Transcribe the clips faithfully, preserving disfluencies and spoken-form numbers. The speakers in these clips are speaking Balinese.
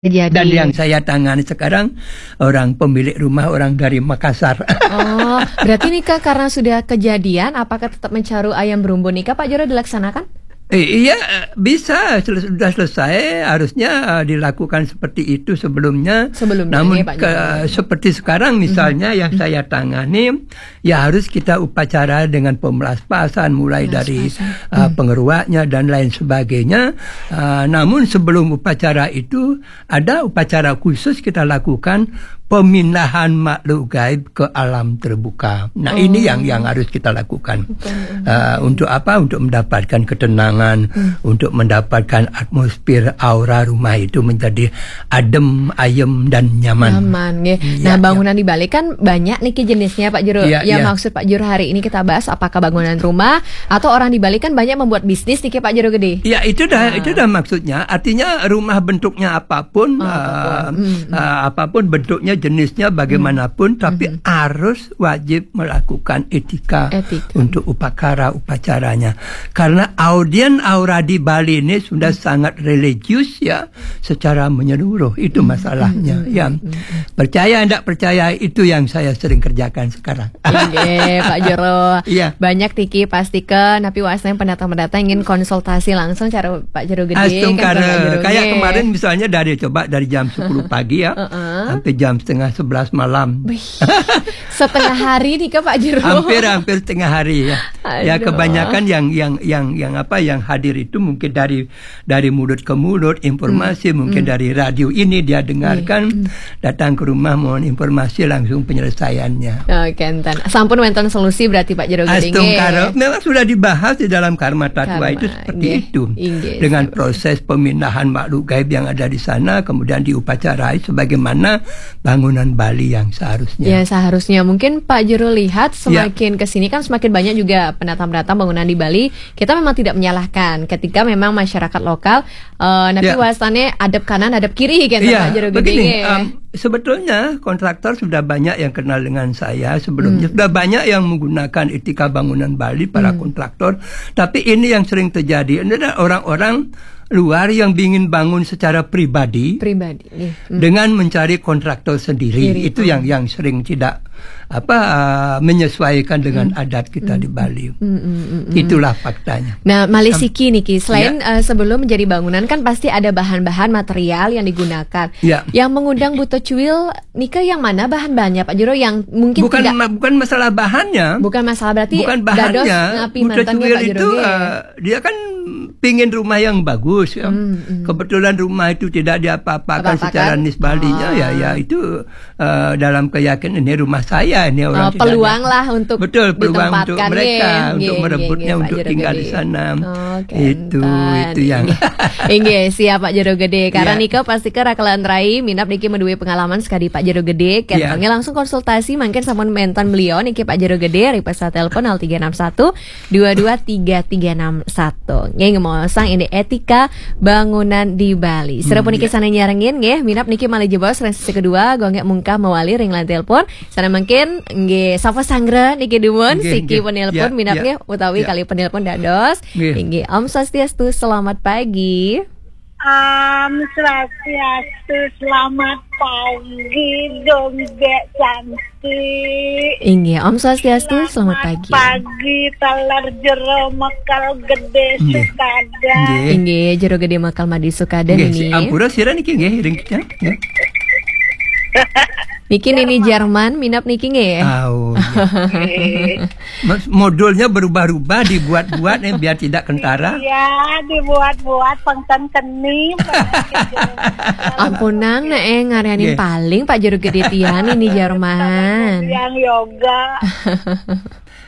Jadi. Dan yang saya tangani sekarang orang pemilik rumah, orang dari Makassar. Oh, berarti nih Kak, karena sudah kejadian, apakah tetap mencaru ayam berumbun nih Kak, Pak Jero dilaksanakan? Eh, iya, eh, bisa sel- sudah selesai, harusnya eh, dilakukan seperti itu sebelumnya. Sebelumnya, Namun ya, Pak ke- Jero. Seperti sekarang misalnya yang saya tangani, ya harus kita upacara dengan pemelaspasan, mulai dari uh, pengeruaknya dan lain sebagainya. Uh, namun sebelum upacara itu, ada upacara khusus kita lakukan, pemindahan makhluk gaib ke alam terbuka. Nah, ini yang yang harus kita lakukan. Uh, untuk apa? Untuk mendapatkan ketenangan, untuk mendapatkan atmosfer, aura rumah itu menjadi adem, ayem, dan nyaman. Nyaman, nggih. Nah, bangunan di Bali kan banyak niki jenisnya, Pak Jero. Ya, maksud Pak Jero hari ini kita bahas apakah bangunan rumah atau orang di Bali kan banyak membuat bisnis niki, Pak Jero Gede. Ya, itu dah, itu dah maksudnya. Artinya rumah bentuknya apapun, uh, uh, apapun bentuknya, jenisnya bagaimanapun, tapi harus wajib melakukan etika untuk upakara upacaranya. Karena audien aura di Bali ini sudah sangat religius, ya, secara menyeluruh. Itu masalahnya, ya. Percaya tidak percaya, itu yang saya sering kerjakan sekarang. Oke, Pak Jero. Iya. Banyak niki pasti ke, tapi wasna pendatang-pendatang ingin konsultasi langsung cara Pak Jero Gede. Astungkara. Kayak kemarin misalnya dari, coba dari jam sepuluh pagi ya, sampai jam setengah sebelas malam. Wih, setengah hari nih Kak, Pak Jero. Hampir-hampir setengah hari ya. Ya, kebanyakan yang yang yang yang apa, yang hadir itu mungkin dari dari mulut ke mulut, informasi mungkin dari radio ini dia dengarkan, datang ke rumah mohon informasi langsung penyelesaiannya. Oke, enten. Sampun wonten solusi berarti Pak Jero Gede. Astungkara. Memang sudah dibahas di dalam Karma Tatwa itu seperti itu. Dengan proses pemindahan makhluk gaib yang ada di sana, kemudian diupacarai sebagaimana bangunan Bali yang seharusnya. Ya, seharusnya. Mungkin Pak Jero lihat semakin ke sini kan semakin banyak juga pendatang-pendatang bangunan di Bali. Kita memang tidak menyalahkan ketika memang masyarakat lokal, eh, tapi wasnanya adep kanan, adep kiri kan, Pak Jero Gede. Begini, em, sebetulnya kontraktor sudah banyak yang kenal dengan saya sebelumnya. Sudah banyak yang menggunakan etika bangunan Bali, para kontraktor. Tapi ini yang sering terjadi. Ini adalah orang-orang luar yang ingin bangun secara pribadi. Pribadi. Dengan mencari kontraktor sendiri. Itu yang yang sering tidak apa, uh, menyesuaikan dengan adat kita di Bali. Itulah faktanya. Nah, malih siki niki, selain uh, sebelum menjadi bangunan kan pasti ada bahan-bahan material yang digunakan. Ya. Yang mengundang Buto Cuil nika yang mana bahan-bahannya, Pak Jero, yang mungkin bukan tidak ma- bukan masalah bahannya. Bukan masalah, berarti bukan bahannya. Dados ngapi Buto Cuil itu, uh, dia kan pingin rumah yang bagus ya. Kebetulan rumah itu tidak diapa-apakan secara nisbalinya, ya, ya itu eh, dalam keyakinan ini rumah saya, ini orang tidak peluang ada. Lah untuk betul, peluang untuk mereka, untuk merebutnya, untuk tinggal di sana. Itu, itu yang. Inggih, siap Pak Jero Gede. Karena nika pasti ke rakalan rai minap niki menduwe pengalaman sekali Pak Jero Gede. Kentongnya langsung konsultasi, mungkin sama mentan beliau niki Pak Jero Gede, ri pesan telepon nol tiga enam satu dua dua tiga tiga enam satu. Nggih, ngomong sang ini etika bangunan di Bali. Sira puniki sané nyarengin nggih, minap niki malih jebos ring sesi kedua, gonggek mungkah mewali ring line telepon. Sané mungkin nggih sapa sanggra niki dumun siki penelpon minap nggih utawi kali penelpon dados. Nggih. Inggih, Om Swastiastu, selamat pagi. Om Swastiastu, selamat pagi, Dongge cantik. Inggih, Om Swastiastu, selamat pagi. Pagi, taler Jero Mekal Gede Sukada. Inggih, Jero Gede Mekal Madi Sukada niki. Ampura sira niki nggih, ring kita. Niki Nini Jerman, minap niki nggih. Oh, iya. Modulnya berubah-ubah, dibuat-buat nih biar tidak kentara. Iya, dibuat-buat pengten keni. Ampunang nek eh ngaranin paling Pak Jero Gede tiang ini Jerman. Yang yoga.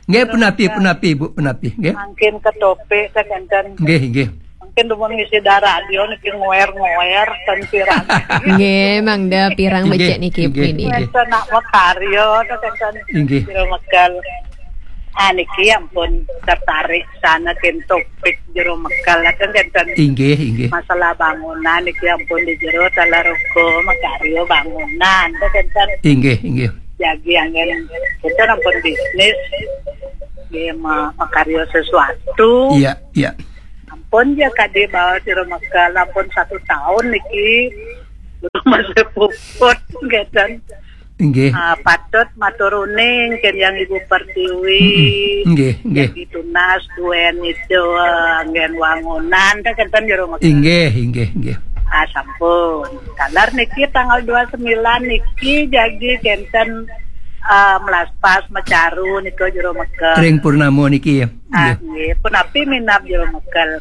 Nggih, punapi, punapi, Bu, punapi, nggih. Mungkin ketopik, kan, kan. Nggih, nggih. Mungkin dumun ngisi darah radio niki ngoer-ngoer, kan pirang. Nggih, mangda pirang becik niki, nggih, nggih. Nak makarya, kan, kan. Nggih. Kira megal. Ah, niki ampun tertarik sana, kan, topik Jero Mekal, kan, kan. Inggih, inggih. Masalah bangunan niki ampun di Jero taler uga makarya bangunan, kan, kan. Inggih, inggih. Jagi anggen kita ampun bisnis, nggih, ma- makarya sesuatu. Iya, iya. Ampun ya kade bawa Jero Mekal, ampun satu tahun niki. Masih puput, ngeten. Inggih. Ah, patut matur uning kén Yang Ibu Pertiwi. Mm-mm. Inggih, inggih. Yang ditunas duén itu, eh, anggén wangunan, téh kénten jero mekel. Inggih, inggih, inggih. Ah, sampun. Taler niki tanggal dua sembilan niki jagi kénten, eh, melaspas mecaru nika jero mekel. Ring purnama niki ya. Ah, inggih. Nggih. Punapi minab jero mekel.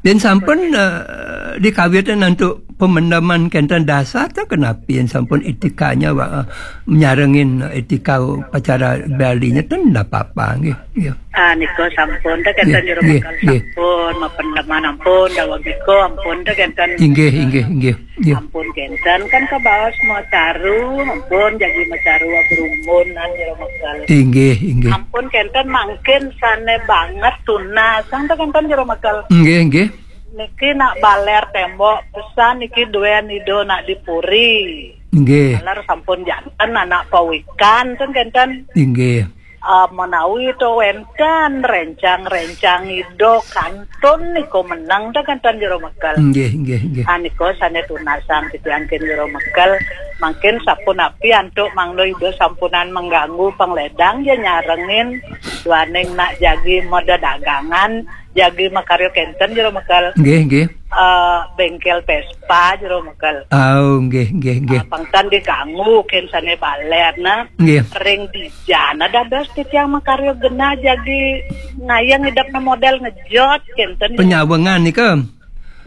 Yén sampun, eh, dikawitin antuk pemendeman kénten dasar, téh kenapi yén sampun etikanya, wa-, nyarengin etika upacara Balinya, ten ndak apa-apa, nggih, nggih. Ah, nika sampun, téh kénten jero mekel nggih. Sampun, mapendeman ampun, daweg nika ampun, téh kénten. Inggih, inggih, inggih. Nggih. Ampun kénten, kan kabaos mecaru, ampun jagi mecaru abrumbun jero mekel. Inggih, inggih. Ampun kénten mangkin sané banget tunas, kan téh kénten jero mekel. Nggih, nggih. Niki nak balér témbok, pesan niki duén Ida nak dipuri. Nggih. Taler sampun janten anak pawikan, ten kénten. Inggih. Ah, menawi to wénten réncang-réncang Ida kantun nika meneng, ten kénten jero mekel. Nggih, nggih, nggih. Ah, nika sané tunasang titiang kén jero mekel. Mangkin sapunapi antuk mangda Ida sampunang mengganggu pangledang, ya nyarengin duaning nak jagi madedagangan, jagi makarya kénten jero mekel. Nggih, nggih. Eh, béngkél Vespa jero mekel. Oh, nggih, nggih, nggih. Eh, pangtan diganggu kén sané balér, nah. Nggih. Ring dija dados titiang makarya genah jagi ngayeng idepna modél ngejot kénten. Penyawangan nika.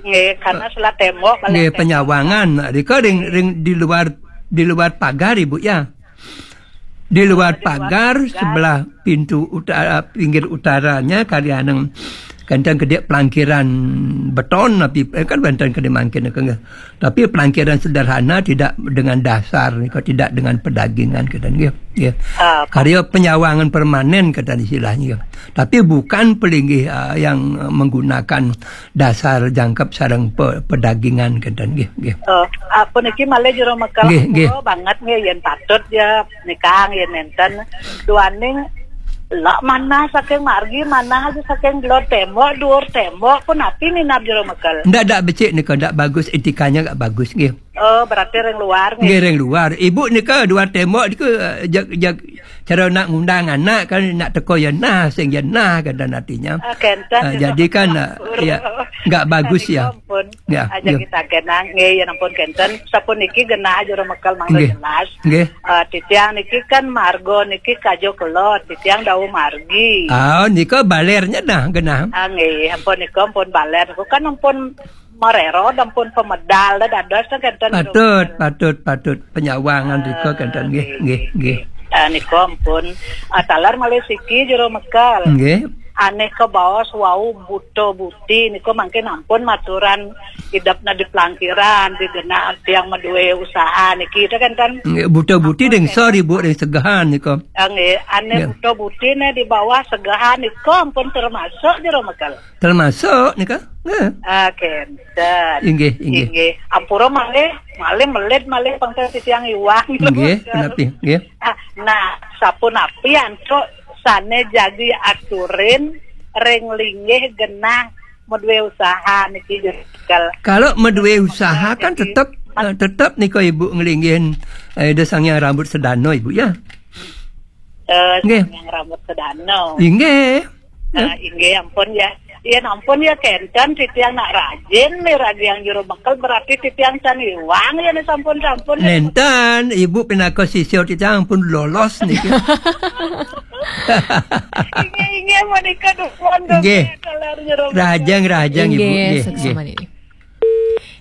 Nggih, karena selat témbok, nggih, penyawangan. Nah, nika ring, ring di luar, di luar pagar, Ibu, ya. Di luar pagar, sebelah pintu utara, pinggir utaranya, kalian yang kadang gede pelangkiran beton, tapi, eh, kan wénten gede mangkin, kan, nggih. Tapi pelangkiran sederhana, tidak dengan dasar, tidak dengan pedagingan, kata nggih. Ya. Ah, karya penyawangan permanen, kata istilahnya. Tapi bukan pelinggih, ah, yang menggunakan dasar jangkep sareng pe-, pedagingan, kata nggih, nggih. Oh, ah, puniki malih jero mekel. Nggih, nggih. Ampura banget nggih, yén patut ya nikang, yén nénten. Duaning lak manah saking margi, manah aja saking gelod témbok, duur témbok, punapi minab jero mekel. Ndak, ndak becik nika, ndak bagus, etikanya nggak bagus, nggih. Oh, berarti ring luar, nggih. Nggih, ring luar. Ibu nika duur témbok nika, eh, jag, jag, cara nak ngundang anak kan, nak teka ya nah, sing ya nah, kan, dan artinya. Ah, kénten. Ah, jadi kan, ah, ya, nggak bagus ya. Ampun. Ya, aja ya. Kita kenang, nggih, ya ampun kénten. Sapuniki genah jero mekel mangda jelas. Nggih. Ah, titiang niki kan marga niki kajo kelod, titiang dawuh margi. Ah, nika balérnya dah genah. Ah, nggih, ampun nika ampun balér. Niku kan ampun marero, ampun pemedal, dah dados kénten. Patut, patut, patut. Penyawangan nika kénten, nggih, nggih, nggih. Ah, nika ampun. Ah, taler malih siki jero mekel. Nggih. Ané kabaos wau buta buti nika mangkin ampun maturan idepna di pelangkiran, di genah tiang madué usaha niki, itu kan, kan? Nggih, buta buti ring sor, Ibu, ring segehan nika. Ah, nggih, ané buta buti né di bawah segehan nika ampun termasuk jero mekel. Termasuk nika? Nggih. Ah, kénten. Inggih, inggih. Inggih. Ampura malih, malih melit malih pangkal titiang iwang. Nggih, punapi? Nggih. Ah, nah, sapunapi antuk sané jagi aturin ring linggih genah madué usaha niki, jero mekel. Kalau madué usaha kan tetep, eh, tetep nika Ibu nglinggihin, eh, Ida Sang Hyang Rambut Sedana, Ibu, ya? Eh, nggih. Sang Hyang Rambut Sedana. Inggih. Ah, inggih, ampun ya. Iya, ampun ya, kénten titiang nak rajin nih, rajin jero mekel, berarti titiang can iwang ya nih, sampun-sampun ya. Nénten, Ibu pinaka sisya titiang pun lolos niki. Inggih, inggih, menika dumun, dumun, nggih. Taler jero mekel. Rahajeng, rahajeng, Ibu. Inggih, nggih, suksma nggih. Niki.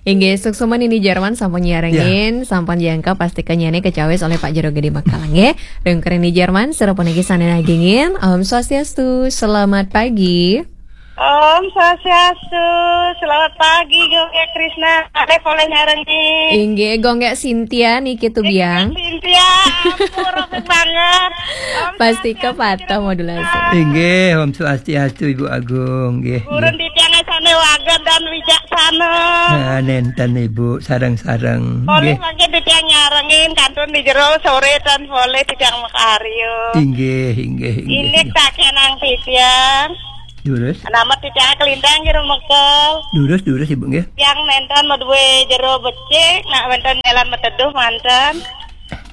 Inggih, suksma Nini Jarman sampun nyarengin, ya. Sampun jangkep, pastika nyané kacawis olih Pak Jero Gedé Makalang, nggih. Ring Nini Jarman, sira puniki sané nagingin. Om Swastiastu, selamat pagi. Om Swastiastu, selamat pagi, Gung Krisna. Ada boleh nyarengin. Inggih, Gung Sintia niki tubiang. Sintia, ampun, rame banget. Om Pastika Swastiastu, patah modulasi. Inggih, Om Swastiastu, Ibu Agung, nggih. Purun titiang sané wagéd dan wijaksana. Nah, nénten Ibu, sareng-sareng. Boleh nggih. Mangkin titiang nyarengin kantun di jero soré tan boleh titiang makarya. Inggih, inggih, inggih. Inggih tak kenang titiang. Durus. Nama titiang kalintang jero mekel. Durus, durus, Ibu, nggih. Tiang nénten madué jero becik, nak wénten jalan mateduh manten.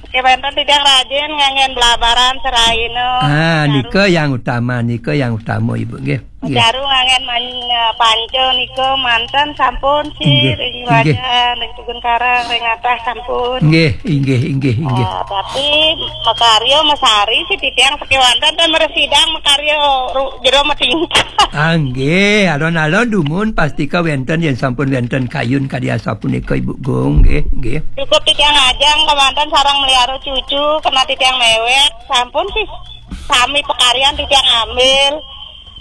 Oke, wénten titiang rajin nganggén blabaran seraina. Ah, nika yang utama, nika yang utama, Ibu, nggih. Nggih. Jaru nganggén man-, panca nika manten sampun sih, nggih, ring nggih. Wajan, ring Tugun Karang, ring Atah sampun. Nggih, inggih, inggih, inggih. Ah, tapi makarya masari sih titiang sakéwanten ten mresidang makarya ru-, jero matingkah. Ah, nggih, alon-alon dumun pastika wénten yén sampun wénten kayun kadi asapunika Ibu Gung, nggih, nggih. Cukup titiang ajang kamanten sareng meliara cucu, kena titiang mewek, sampun sih sami pakaryan titiang ambil.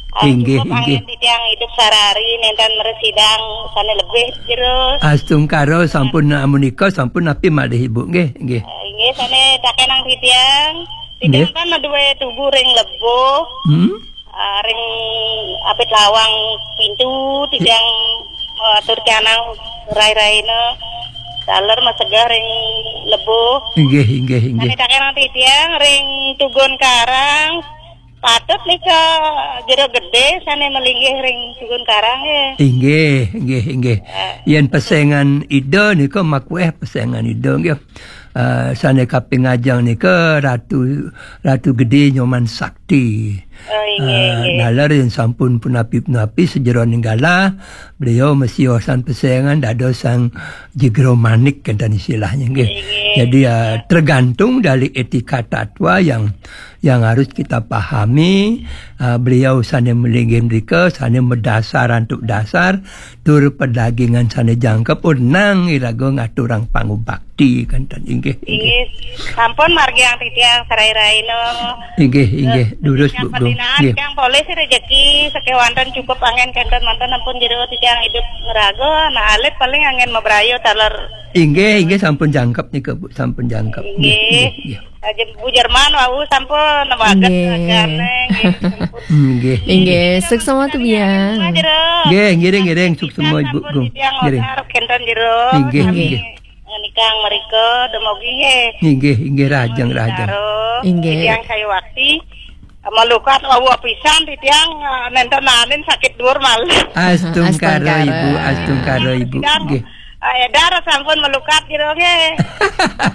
Ah, inggih, cukup inggih. Angin titiang hidup sarari, nénten mresidang sané lebih jero. Astungkara sampun amunika, sampun napi malih Ibu, nggih, nggih. Eh, inggih, sané takenang titiang. Titiang nggih. Kan madué tugu ring lebuh. Hmm? Ah, ring apit lawang pintu, titiang, eh, atur canang rai-raina. Taler masegah ring lebuh. Inggih, inggih, inggih. Sané takenang titiang ring Tugun Karang. Patut nika jero gedé sané malinggih ring Tugun Karang, nggih. Inggih, inggih, inggih. Eh. Yén pesengan Ida nika makuéh pesengan Ida, nggih. Eh, sané kaping ajeng nika Ratu, Ratu Gedé Nyoman Sakti. Oh, inggih, eh, inggih. Naler yén sampun punapi-punapi sajeroning galah, beliau masiosan pesengan dados sang jegro manik, kénten istilahnya, nggih. Inggih. Jadi, eh, tergantung dari etika tatwa yang yang harus kita pahami, ah, beliau sané malinggih mrika, sané madasar antuk dasar, tur pedagingan sané jangkep, urnang iraga ngaturang pangubakti, kénten inggih, inggih. Inggih, sampun margiang titiang sarai-raina. Inggih, inggih, eh, durus, titiang Bu Gung. Nggih. Titiang polih rejeki, sakéwanten cukup angin kénten manten ampun jero titiang hidup ngraga, anak alit paling angin mabrayu taler. Inggih, inggih, sampun jangkep nika, Bu, sampun jangkep. Inggih, inggih, inggih. Aja Bu Jerman wau sampun nemaget. Nggih. Ragane, nggih, sampun. Nggih. Inggih, suksma tu biang. Nggih, ngiring, ngiring, suksma Ibu Gung. Ngiring. Sampun titiang otar kenten jero. Inggih, sami inggih. Ngenikang merika, demogi nggih. Inggih, inggih, rahajeng, rahajeng. Inggih. Titiang Sayuwakti. Malukat wau pisan titiang, eh, nenten nanin sakit dhuwur malih. Astungkara, astungkara. Ibu, astungkara, Ibu. Titiang, nggih. Eh, edar sampun melukat jero nggih.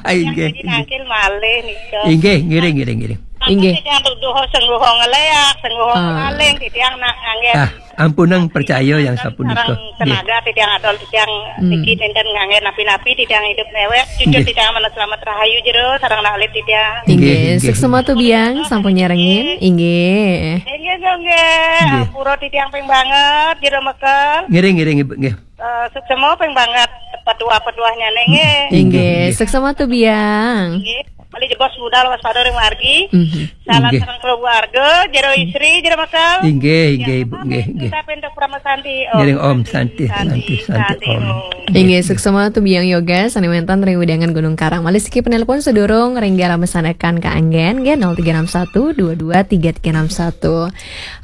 Inggih, inggih. Nangkil malih nika. Inggih, ngiring, ngiring, ngiring. Inggih. Titiang tuduh sengguh ngeleak, sengguh maling, titiang nak nganggé. Ah, ampunang percaya yang sapunika. Sareng tenaga titiang adol titiang niki nenten nganggé napi-napi titiang hidup newek. Cucu titiang mana selamat rahayu jero sareng nak alit titiang. Inggih, inggih. Suksma tu biang sampun nyarengin. Inggih. Inggih, inggih. Ampura titiang ping banget jero mekel. Ngiring, ngiring, Ibu, nggih. Eh, suksma ping banget petuah-petuahnya nggih. Inggih, inggih. Suksma tu biang. Nggih. Malih jebos budal waspada ring margi. Salam sareng keluarga, jero istri, jero mekel. Inggih, inggih, Ibu, nggih, nggih. Kita pintuk Parama Santi, Om. Ngiring Om Santi, Santi, Santi, Santi, Santi, Om. Om. Inggih, suksma tu biang yoga, sané wénten ring wewidangan Gunung Karang. Malih siki penelpon sedurung ring galah masanekan kaanggén, nggih, nol tiga enam satu dua dua tiga tiga enam satu.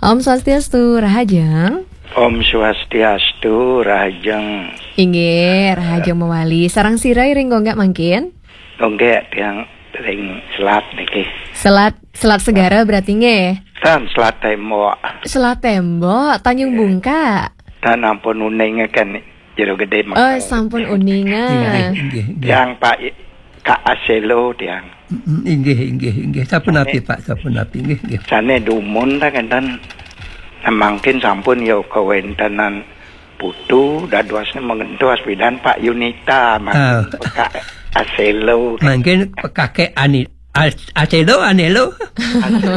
Om Swastiastu, rahajeng. Om Swastiastu, rahajeng. Inggih, rahajeng mawali. Sareng sira ring Gonggak mangkin? Gonggak tiang ring selat niki. Selat, Selat Segara berarti nggih? Tan Selat Tembok. Selat Tembok, Tanjung Bungka. Tan ampun uning kan jero gedé. Oh, makan. Sampun uningan. Inggih, inggih, inggih. Tiang Pak I-, Kak Aselo tiang. Mm, inggih, inggih, inggih. Sapunapi, Pak, sapunapi, inggih, inggih. Sané dumun ta kenten. Nah, mangkin sampun ya kawéntenan putu dadosné mengentos pidan Pak Yunita, mangkin pekak Aselo. Mangkin pekake ani-, as-, Aselo, Anelo. Aselo.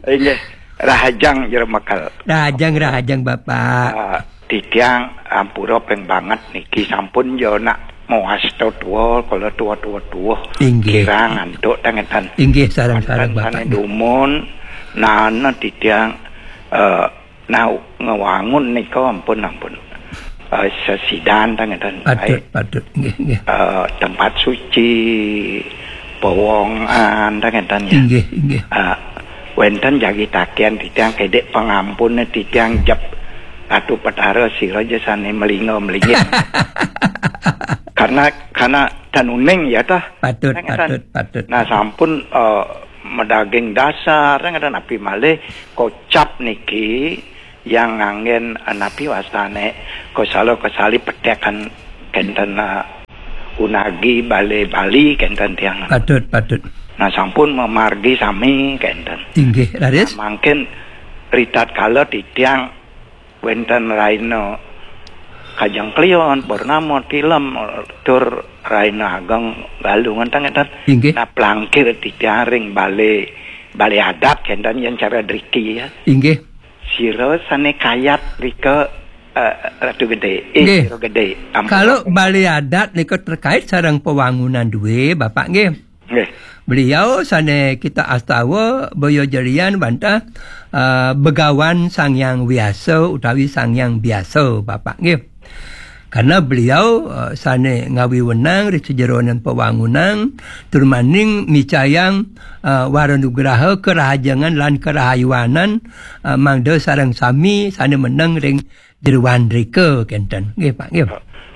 Inggih, rahajeng jero mekel. Rahajeng, rahajeng, Bapak. Ah, titiang ampura ping banget niki sampun ya nak mawasta tuwa, kala tuwa-tuwa tuwuh. Inggih. Kirang antuk ta ngeten. Inggih, sareng-sareng, Bapak. Sané dumun, nana titiang, eh, nah, ngewangun nika ampun, ampun. Eh, sesidan ta ngeten. Patut, patut. Nggih, nggih. Eh, tempat suci, pawongan ta ngeten ya. Inggih, inggih. Eh, wénten jagi takian titiang kedek pangampun titiang jep Ratu Petara sira ja sané melinga-melingit. Karena, karena tan uning ya tah. Patut, ta ngeten. Patut, patut. Nah, sampun, eh, Madaging dasar, ngénten, napi malih kocap niki yang nganggén, eh, napi wastané, kosala-kosali petékan kénten, eh, unagi balé Bali kénten tiang. Patut, patut. Nah, sampun mamargi sami kénten. Inggih, raris. Nah, mangkin ritatkala titiang wénten rahina Kajeng Kliwon, Purnama, Tilem, tur rahina Ageng Galungan, ngénten. Inggih. Nah, plangkir titiang ring balé, balé adat kénten yén cara driki, ya. Inggih. Sira sané kayat rika, eh, Ratu Gedé. Eh, Nggih. Sira Gedé. Ampun. Kalau balé adat nika terkait sareng pewangunan dué, Bapak, nggih. Nggih. Beliau sané kita astawa boya jerian wantah, eh, Begawan Sang Hyang Wiasa utawi Sang Hyang Biasa, Bapak, nggih. Karena beliau, eh, sané ngawiwenang ri sajeroning pewangunan, tur maning micayang, eh, waranugraha kerahajengan lan kerahayuanan, eh, mangda sareng sami sané meneng ring jeroan rika kénten. Nggih, Pak, nggih.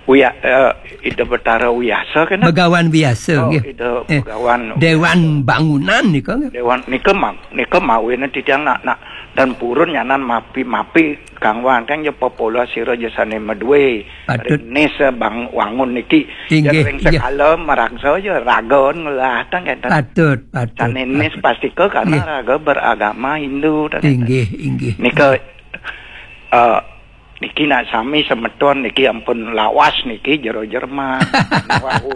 Uya, eh, Ida Betara Wiasa kénten? Begawan Wiasa, Oh, nggih. Ida Eh, Begawan Dewan Bangunan nika, nggih. Dewan nika ma-, nika mawinan titiang nak, nak dan purun nyanan mapi-mapi kang wanteng ya popola sira ya sané madué. Patut. Ring nis, eh, bang wangun niki. Inggih, Ya ring inggih. Sekala maraksa ya raga ngelah tang kénten. Patut, patut, Sané nis patut. Pastika karena Nggih. Raga beragama Hindu tang kénten. Inggih, inggih. Nika, eh, niki nak sami semeton niki ampun lawas niki jero Jerman. Wau.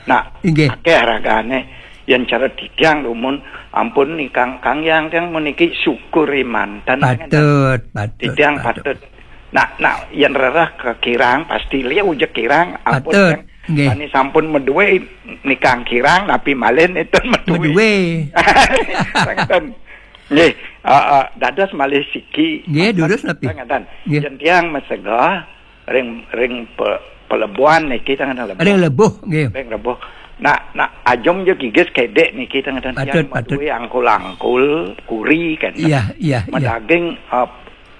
Nah, Inggih. Akéh ragané yén cara titiang dumun ampun nih Kang, Kang Yang Kang meniki syukur manten. Patut, patut, Titiang patut. Patut. Nah, nah, yén rereh ke kirang pasti liu je kirang ampun Patut. Kang. Nggih. Sané sampun madué nikang kirang napi malih nénten madué. Madué. Ngénten. Nggih, ah, ah, dados malih siki. Nggih, durus napi? Ngénten. Nggih. Yén tiang masegah ring, ring pe-, pelebuhan niki tang lebuh. Ring lebuh, nggih. Ring lebuh. Nah, nah, ajum je gigis kedék niki tang tiang Patut, patut. Madué angkul-angkul, kuri kan. Iya, iya, iya. Madaging, eh,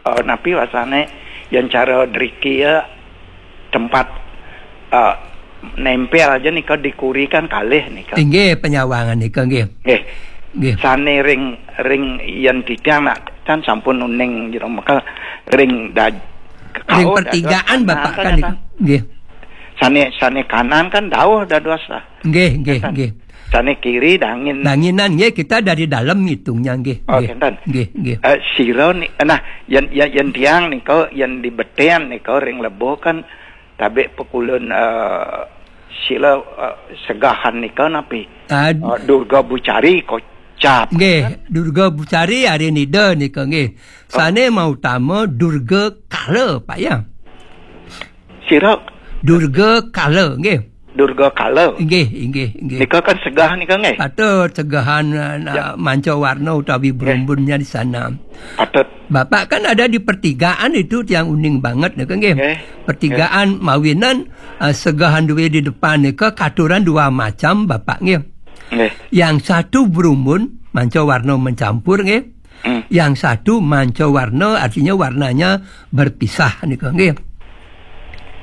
eh, napi wastané yén cara driki ya tempat, eh, nempel aja nika di kuri kan kalih nika. Inggih, penyawangan nika nggih. Nggih. Nggih. Sané ring, ring yén titiang nak kan sampun uning jero meka ring daj-, Ring oh, pertigaan dados Bapak kanan kan kan nika. Nggih. Sané, sané kanan kan dauh dados lah. Nggih, nggih, Kan. Nggih. Sané kiri dangin. Danginan nggih, kita dari dalam ngitungnya nggih. Oh, Nggih. Kénten. Nggih, nggih. Eh, sira ni, nah, yén, yén, yén tiang nika, yén di Betén nika ring lebuh kan tabik pekulun, eh, sila, eh, segahan nika napi? Ad- Eh, Durga Bucari kocap. Nggih, Durga Bucari ari nida nika nggih. Oh. Sané mautama Durga Kala, Pak ya. Sira? Durga Kala, nggih. Durga Kala. Nggih, nggih, nggih. Nika kan segah nika nggih. Patut segahan, eh, na-, Ya. Manca warna utawi Nggih. Berumbunnya di sana. Patut. Bapak kan ada di pertigaan itu tiang uning banget nika nggih. Nggih. Pertigaan mawinan, eh, segahan duwe di depan nika katuran dua macam Bapak nggih. Nggih. Yang satu berumbun, manca warna mencampur nggih. Hmm. Yang satu manca warna, artinya warnanya berpisah nika nggih.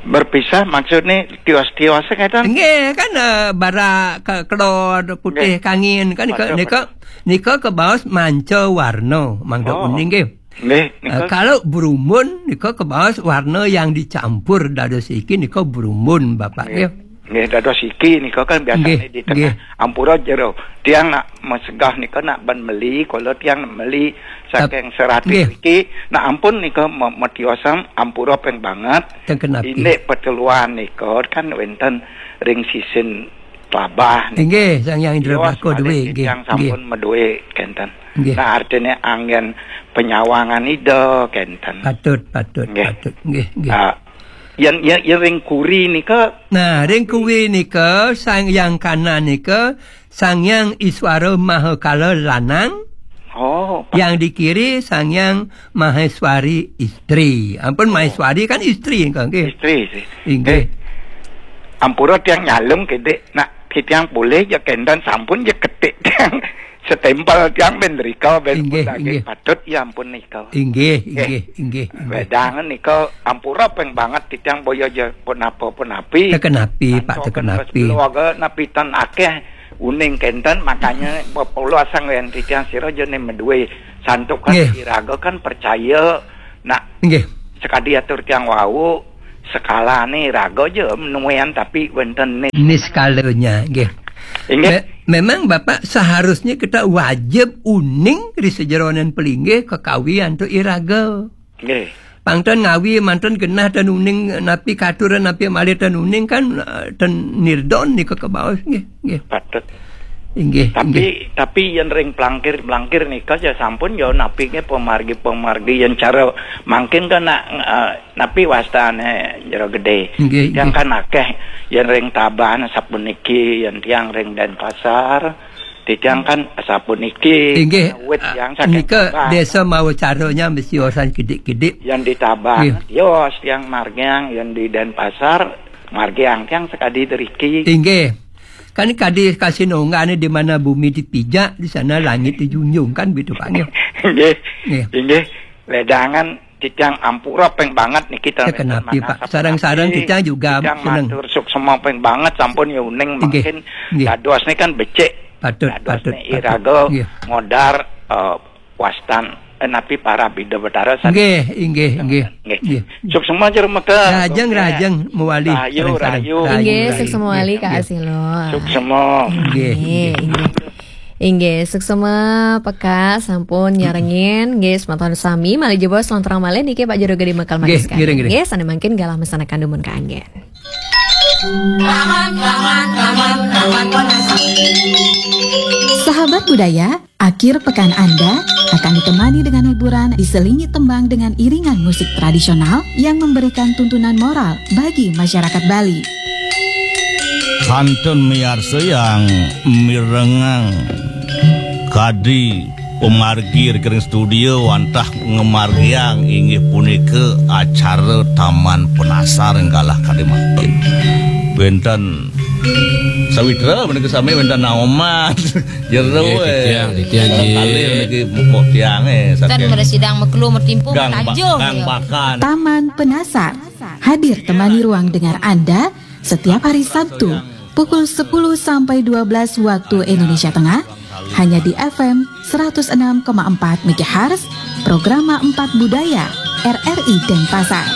Berpisah maksudnya tios-tios ngéten? Nggih, kan, eh, barak ke-, kelod putih Nggih. Kangin kan nika, Waduh, nika, waduh. Nika kebaos manca warna, mangda Oh. Uning nggih. Nggih, Eh, nika. Kalau berumbun nika kebaos warna yang dicampur dados iki nika berumbun Bapak Nggih. Nggih. Nggih, dados iki nika kan biasanya Nggih, di tengah nggih. Ampura jero. Tiang nak mesegah nika nak ban meli, kala tiang meli Tap-, saking Serati nggih. Niki, nak ampun nika me-, metiosan ampura ping banget. Teng kenapi? Indik peteluan nika kan wénten ring sisin Tlabah nika. Inggih, Sang Hyang Indra Tios Baka malih duwe, nggih, tiang nggih. Sampun maduwe kénten. Nggih. Nah, artinya anggén penyawangan Ida kénten. Patut, patut, Nggih. Patut. Nggih, nggih. Ah, Yen, yen, yen ring kuri nika Nah, ring kuwi nika Sang Hyang Kanan nika Sang Hyang Iswara Mahakala lanang. Oh, pa- Yang di kiri Sang Hyang Maheswari istri. Ampun, Oh. Maheswari kan istri nika nggih. Istri sih. Inggih. Eh, ampura tiang nyalem kedek nak titiang boleh ya kendan sampun ya ketik tiang setempel tiang ben rika ben Inggih, pun lagi inggih. Patut ya ampun nika. Inggih, Eh, inggih, inggih, inggih. Wedangan nika ampura peng banget titiang boya ja pun apa pun api. Teken api, Pak, Kanto teken kan api. Keluarga napi tan akeh Uning kenten, makanya pepolo asang wen titiang sira jane maduwe santukan. Nggih. Iraga kan percaya. Nah, nggih. Sekadi atur tiang wau, sekalane iraga ja nuwean tapi wenten nis-, niskalanya, nggih. Inggih. Me-, memang Bapak seharusnya kita wajib uning di sejeroning pelinggih kekawi antuk iraga. Nggih. Pang ten ngawi mantun genah ten uning napi katuran napi malih ten uning kan, eh, ten nirdon nika kebaos nggih, nggih. Patut. Inggih, tapi, inggih. Tapi yen ring plangkir-plangkir nika ya sampun ya napi nggih pamargi-pamargi yen cara mangkin kan nak, eh, napi wastane Jero Gede. Nggih, yang nggih. Kan akeh yen ring Tabahan sapuniki, yen tiang ring Denpasar, titiang kan sapuniki. Inggih, wit tiang saking nika Tabahan. Desa mawa caranya mesti osan kidik-kidik. Yen di Tabahan, nggih. Tios tiang margiang, yen di Denpasar, margiang tiang sekadi driki. Inggih. Kan kadi kasinunggane di mana bumi dipijak, di sana langit dijunjung, kan begitu, Pak, nggih? Nggih. Nggih. Inggih. Ledangan titiang ampura ping banget niki. Ya, ten kenapi, Pak? Sareng-sareng titiang juga titiang seneng. Matur suksma ping banget sampun ya uning. Inggih, mangkin inggih. Dados ni kan becik. Patut, dados patut, ni patut. Iraga, nggih. Ngodar, eh, wastan, eh, napi para Bida Betara san-, nggih, inggih, inggih. Nggih. Nggih. Suksma jero meka. Rajeng, nggih. Rajeng mawali. Rahayu, sareng-sareng. Rahayu. Rahayu, inggih, rahayu. Suksma mawali, nggih, Kak, nggih. Asilo. Suksma. Nggih, nggih, nggih. Inggih. Inggih, suksma peka sampun nyarengin. Nggih, semeton sami malih jebos lontrang malih niki Pak Jero Gede Mekal. Nggih, manis sekali. Ngiring, ngiring. Nggih, sane mangkin galah mesanakan dumun kaanggen. Sahabat budaya, akhir pekan Anda akan ditemani dengan hiburan diselingi tembang dengan iringan musik tradisional yang memberikan tuntunan moral bagi masyarakat Bali. Kantun miarsa yang mirengang kadi pamargi ring studio wantah ngamargiang inggih punika acara Taman Penasar galah kadi mangkin. Wenten sawitra menika sami wenten naoman. Jero, nggih, eh. Titiang, titiang, nggih. Kalih niki mupuk tiang, eh, kan saking mresidang meklu metimpu gang ba-, tanjung, gang ya. Bakan. Taman Penasar hadir temani ruang dengar Anda setiap hari Sabtu pukul sepuluh sampai dua belas waktu Indonesia Tengah, hanya di F M seratus enam koma empat megahertz, Programa empat Budaya, R R I Denpasar.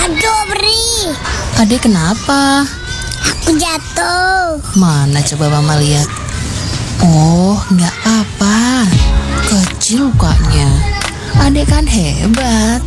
Aduh, Bri. Adek kenapa? Aku jatuh. Mana coba Mama lihat? Oh, nggak apa-apa. Kecil lukanya. Adek kan hebat.